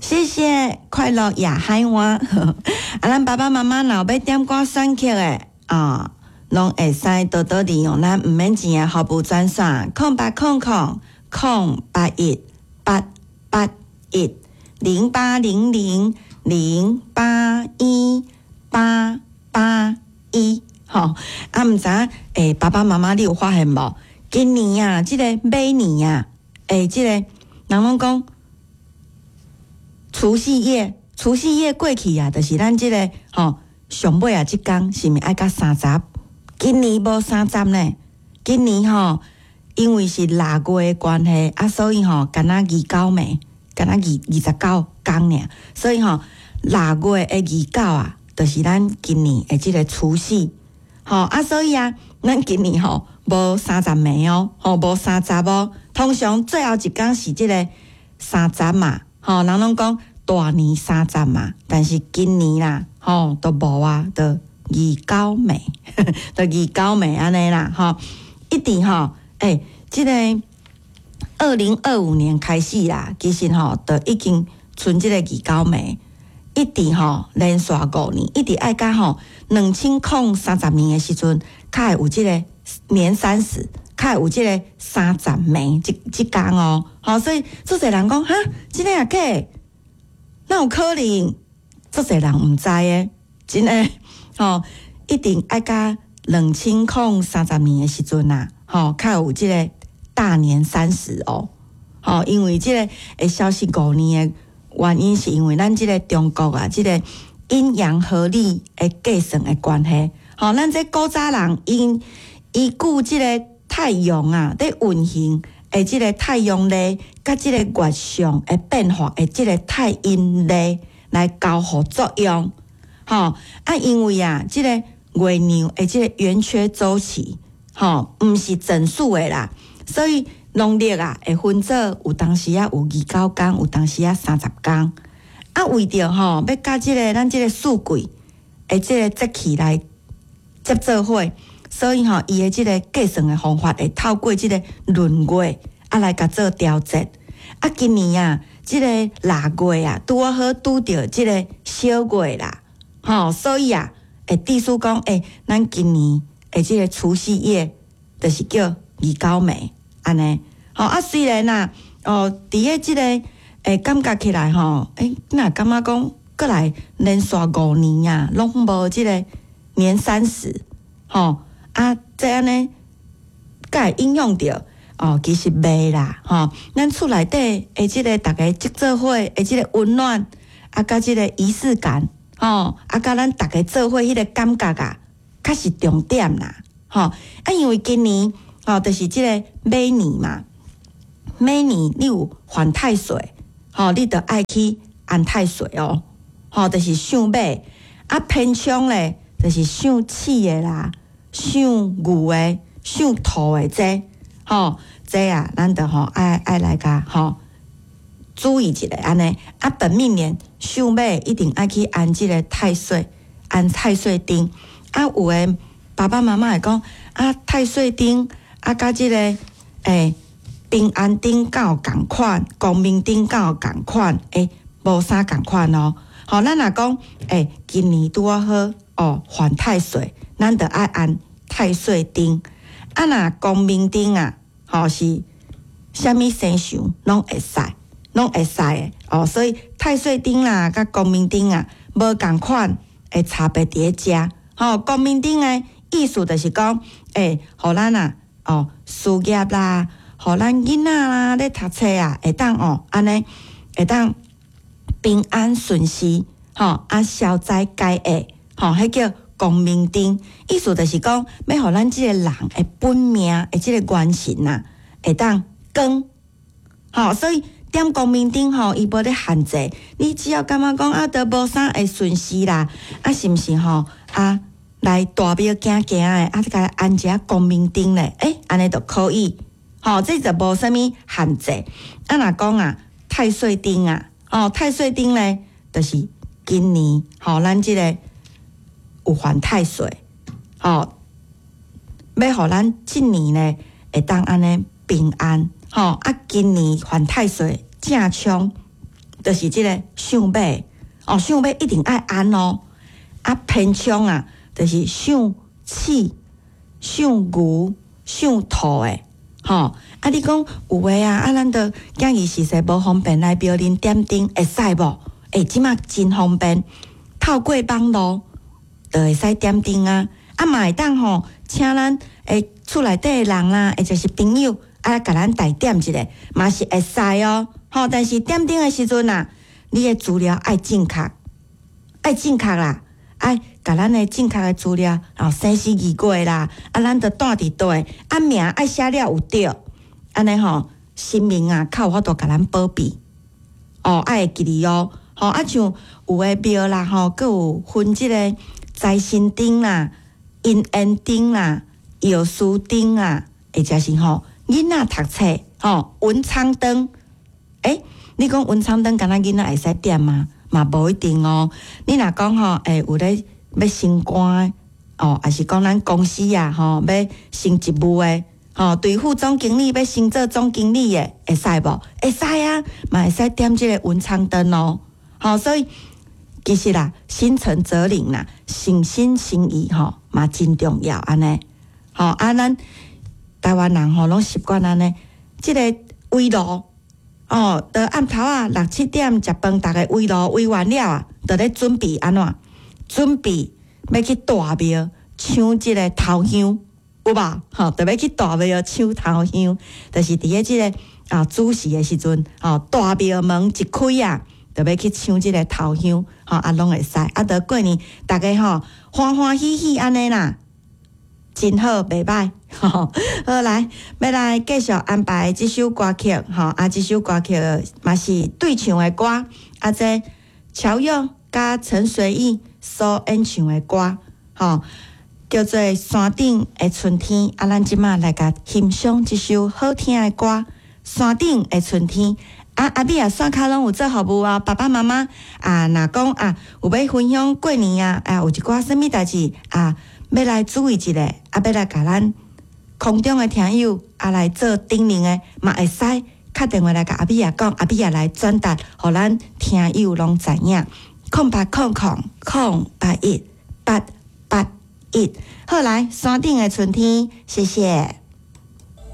謝謝快樂也海灣。啊，咱爸爸媽媽若欲點歌選曲的啊，攏會使多多利用咱毋免錢的服務專線0800 081 8810800081881。吼，啊，毋知影欸，爸爸媽媽你有發現無？今年啊，這個馬年啊，欸，這個人攏講除夕夜，除夕夜過去啊，就是咱這個吼上尾啊，這工是毋是愛到三十？今年無三十呢？今年吼，因為是臘月的關係啊，所以吼，敢若二九暝，敢若29工爾，所以吼，臘月的二九啊，就是咱今年的這個除夕。吼啊，所以啊，咱今年吼無三十暝哦，吼無三十哦。通常最後一工是這個三十嘛，吼人攏講大年三十嘛，但是今年啦，吼都無啊，就二九暝，就二九暝按呢啦，吼一直吼，欸，這個2025年開始啦，其實吼就已經賰這個二九暝。一直吼連續五年，一直愛到吼2030年的時陣，較會有這個年三十，較會有這個三十暝這這工哦。吼，所以足濟人講哈，真的抑假？哪有可能？足濟人毋知的，真的吼，一定愛到2030年的時陣啊，吼，較有這個大年三十哦。吼，因為這個會消失五年的原因是因為咱這個中國啊，這個陰陽合曆的計算的關係，吼，咱這古早人𪜶依據這個太陽啊，佇運行的這個太陽曆，佮這個月相的變化的這個太陰曆來交互作用，吼啊，因為啊，這個月亮的這個圓缺週期，吼，毋是整數的啦，所以農曆啊會分做有當時仔有二九工，有當時仔三十工。啊，為著吼欲佮這個咱這個四季的這個節氣來接做伙，所以吼伊的這個計算的方法會透過這個閏月啊來共做調節。啊，今年啊，這個臘月啊拄仔好拄著這個小月啦，吼，所以啊會致使講，欸，咱今年的這個除夕夜就是叫二九暝。按呢，吼啊，雖然啊，哦，佇咧這個欸感覺起來吼，欸，若感覺講閣來連續五年啊，攏無這個年三十，吼啊，這按呢，敢會影響著哦，其實袂啦，吼，咱厝內底的這個逐家聚做伙的這個溫暖，啊，佮這個儀式感，吼，啊，佮咱逐家做伙彼個感覺啊，較是重點啦，吼，啊，因為今年。吼，就是這個馬年嘛，馬年你有犯太歲，吼，你著愛去安太歲哦，吼，就是屬馬，啊，偏沖咧，就是屬鼠的啦，屬牛的、屬兔的這，吼，這啊，咱著吼愛愛來共吼注意一下按呢，啊，本命年屬馬一定愛去安這個太歲，安太歲燈，啊，有的爸爸媽媽會講啊，太歲燈。啊，佮這個欸，平安燈敢有仝款，光明燈敢有仝款？欸，無啥仝款哦。吼，咱若講欸，今年拄仔好哦，犯太歲，咱著愛安太歲燈。啊，若光明燈啊，吼是啥物生肖攏會使，攏會使的哦。所以太歲燈啦，佮光明燈啊，無仝款的差別佇咧遮。吼，光明燈的意思就是講，欸，予咱啊。哦，事業啦，予咱囡仔啦咧讀冊啊，會當哦，按呢會當平安順遂，吼啊消災解厄，吼，彼叫光明燈。意思就是講，欲予咱這個人的本命的這個元神啊，會當光。吼，所以點光明燈吼，伊無咧限制，你只要感覺講啊，都無啥會順遂啦，啊，是毋是吼啊？來大廟行行的，啊，共安一下光明燈咧，欸，按呢就可以，吼，這就無啥物限制。啊，若講啊，太歲燈啊，哦，太歲燈咧，就是今年吼，咱這個有犯太歲，吼，欲予咱這年咧會當按呢平安，吼，啊，今年犯太歲正沖，就是這个屬馬，哦，屬馬一定愛安哦。啊，偏沖啊，就是屬鼠、屬牛、屬兔的，吼。啊，你講有的啊，啊，咱著囝兒實在無方便來廟裡點燈，會使無？欸，這馬真方便，透過網路就會使點燈啊。啊，嘛會當吼，請咱的厝內底的人啦，或者是朋友啊，共咱代點一下，嘛是會使哦。吼，但是點燈的時陣啊，你的資料愛正確，愛正確啦，愛共咱的正確的資料，哦，生時日月啦，啊，咱著蹛佇佗，啊，名愛寫了有對，按呢吼，神明啊，較有法度共咱保庇。哦，愛會記得哦，吼，啊，像有的廟啦，吼，閣有分這个財神燈啦、姻緣燈啦、藥師燈啊，或者是吼囡仔讀冊吼文昌燈。欸，你講文昌燈敢若囡仔會使點嗎？嘛無一定哦。你若講吼，欸，有咧欲升官的，哦，抑是講咱公司啊，吼，欲升職務的，吼，對副總經理欲升做總經理的，會使無？會使啊，嘛會使點這个文昌燈哦。吼，所以其實啦，心誠則靈啦，誠心誠意吼嘛真重要按呢。吼，啊，咱台灣人吼攏習慣按呢，這个圍爐哦，到暗頭仔六七點食飯，逐家圍爐圍完了啊，就咧準備按怎？準備欲去大廟搶這个頭香，有無？吼，就欲去大廟搶頭香，就是佇咧這个啊子時的時陣，吼，大廟門一開啊，就欲去搶這个頭香，吼，啊，攏會使。啊，著過年逐家吼歡歡喜喜按呢啦，真好，袂䆀。好，來，欲來繼續安排這首歌曲，吼，啊，這首歌曲嘛是對唱的歌，啊，這喬佑佮陳隨意所演唱的歌，吼，叫做《山頂的春天》。啊，咱這馬來共欣賞這首好聽的歌《山頂的春天》。啊，阿美啊，線跤攏有做服務啊，爸爸媽媽啊，若講啊，有欲分享過年啊，啊，有一寡啥物代誌啊，欲來注意一下，啊，欲來共咱空中的聽友啊來做叮嚀的，嘛會使敲電話來共阿美仔講，阿美仔來轉達，予咱聽友攏知影。0800 081 881，好來，山頂的春天，謝謝。